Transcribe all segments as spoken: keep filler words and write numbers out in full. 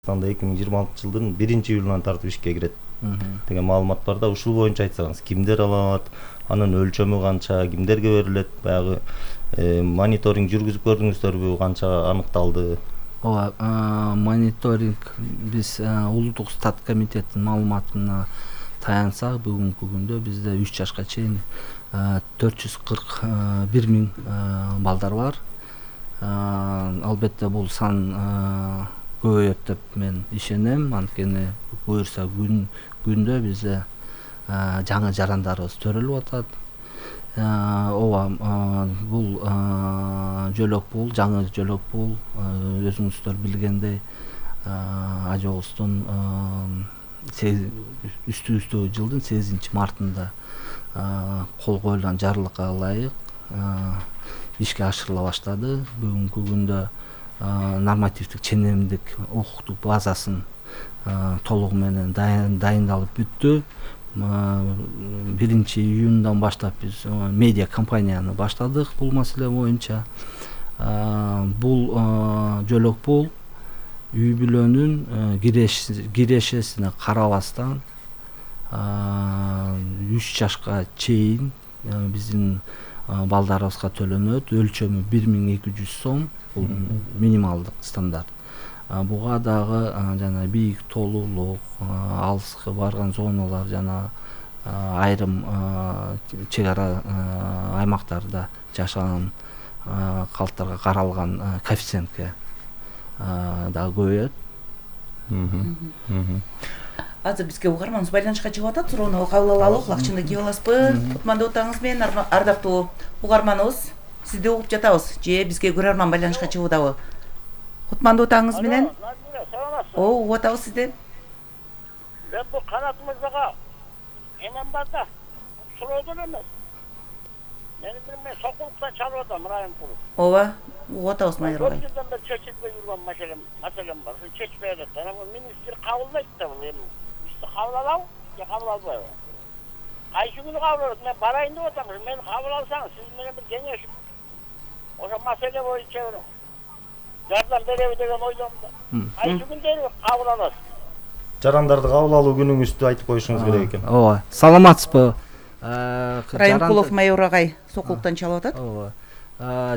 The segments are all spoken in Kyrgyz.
эки миң жыйырма алтынчы жылдын биринчи июлунан тартып ишке кирет деген маалымат бар да. Ушул боюнча айтсаңыз, кимдер ала алат, анын өлчөмү канча, кимдерге берилет, баягы мониторинг жүргүзүп көрдүңүздөрбү, канча анықталды? Ооба, мониторинг биз улуттук стат комитеттин маалыматына таянсак, бүгүнкү күндө бизде үч жашка чейин төрт жүз кырк бир миң балдар бар. Албетте бул сан көбөйөт деп мен ишенем, анткени буюрса күн күндө бизде жаңы жарандарыбыз төрөлүп атат. Ооба, бул жөлөк бул, жаңы жөлөк бул, өзүңүздөр билгендей, ажообуздун үстүбүздөгү жылдын сегизинчи мартында кол коюлган жарлыкка ылайык ишке ашырыла баштады. Бүгүнкү күндө нормативдик ченемдик укуктук базасын толугу менен дайындалып бүттү. биринчи июндан баштап биз медиа компанияны баштадык бул маселе боюнча. Бул жөлөк бул үй бүлөнүн кирешесине карабастан үч жашка чейин биздин балдарыбызга төлөнөт. Өлчөмү бир миң эки жүз сом, бул минималдык стандарт. Буга дагы жана бийик толуулук, алыска барган зоналар жана айрым чек ара аймактарда жашаган калктарга каралган коэффициентке дагы көбөйөт. Азыр бизге угарманыбыз байланышка чыгып атат. Суроону кабыл алалы, кулакчынды кийип аласызбы? Кутмандуу таңыңыз менен ардактуу угарманыбыз. Сизди угуп жатабыз. Же бизге көрөрман байланышка чыгуудабы? Кутмандуу таңыңыз менен. О, угуп атабыз сизди. Мен бул Канат мырзага эмем бар да, суроодон эмес. Мен мен сокулуктан чалып атам, районкулук. Ооба, угуп атабыз майыр агай. Бирден бир чечилбей жүргөн маселем, маселем бар. Ушул чечпей атат. Анан министр кабылдайт да бул эми. Бизди кабыл алабы, же кабыл албайбы? Кайсы күнү кабыл алат? Мен барайын деп атам. Мени кабыл алсаңыз, сиз менен бир кеңешип, ошо маселе боюнча жардам береби деген ойдомун да. Кайсы күндөрү кабыл аласыз? Жарандарды кабыл алуу күнүңүздү айтып коюшуңуз керек экен. Ооба, саламатсызбы? Районкулов майор агай сокулуктан чалып атат. Ооба.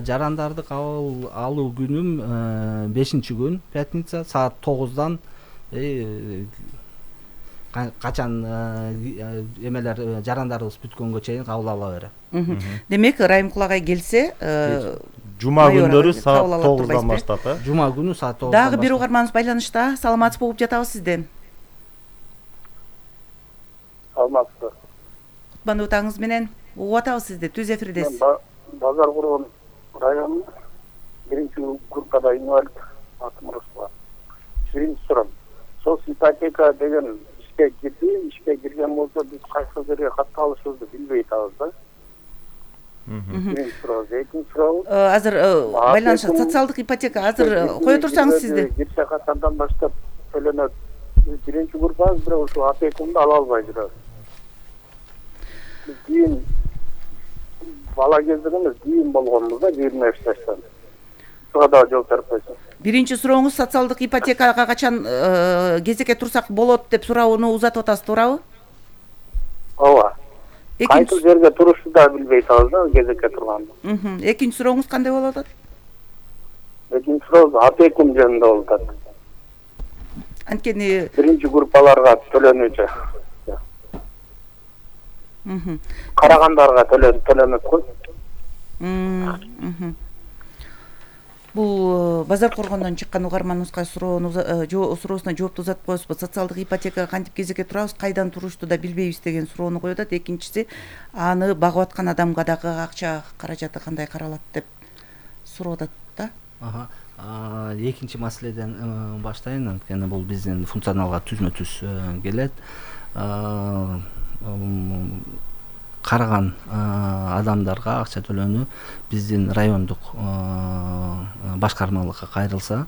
Жарандарды кабыл алуу күнүм бешинчи күн, пятница, саат тогуздан качан эмелер жарандарыбыз бүткөнгө чейин кабыл ала берем. Демек, Районкул агай келсе, жума күндөрү саат тогуздан баштап, э? Жума күнү саат тогуздан. Дагы бир угарманыбыз байланышта. Саламатсызбы, угуп жатабыз сизден. Саламатсызбы. Кутмандуу таңыңыз менен угуп атабыз сизди. Түз эфирдесиз. Базар Кургон районунун биринчи группада инвалид атым Русла. Биринчи сурам. Сол ипотека деген ишке кирди, ишке кирген болсо биз кайсы жерге катты алышыбызды билбей атабыз да. Биринчи суроо, экинчи суроо. Азыр байланышат социалдык ипотека азыр кое турсаңыз сизди. Кирсе катардан баштап төлөнөт. Биринчи группабыз бирок ушул апекумду ала албай жүрөбүз. Биз кийин бала кезден эмес, кийин болгонбуз да, жыйырма беш жаштан. Буга дагы жооп берип койсоң. Биринчи сурооңуз социалдык ипотекага качан кезекке турсак болот деп суроону узатып атасыз, туурабы? Ооба. Кайсы жерге турушты да билбей атабыз да, кезекке турганды. Экинчи сурооңуз кандай болуп атат? Экинчи суроо апекум жөнүндө болуп атат. Анткени биринчи группаларга төлөнүүчү. Карагандарга төлөнөт го. Бул Базар Коргондон чыккан угарманыбызга суроону суроосуна жоопту узатып коесузбу? Социалдык ипотекага кантип кезекке турабыз, кайдан турушту да билбейбиз деген суроону коюп атат. Экинчиси, аны багып аткан адамга дагы акча каражаты кандай каралат деп сурап атат да. Экинчи маселеден баштайын, анткени бул биздин функционалга түзмө-түз келет. Караган адамдарга акча төлөнүү биздин райондук башкармалыкка кайрылса,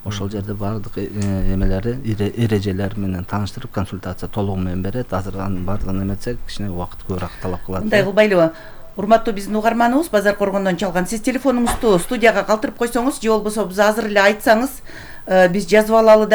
ошол жерде бардык эмелери, эрежелери менен тааныштырып, консультация толугу менен берет. Азыр анын бардыгын эметсек, кичине убакыт көбүрөөк талап кылат. Мындай кылбайлыбы? Урматтуу биздин угарманыбыз Базар Коргондон чалган. Сиз телефонуңузду студияга калтырып койсоңуз же болбосо биз азыр эле айтсаңыз, биз жазып алалы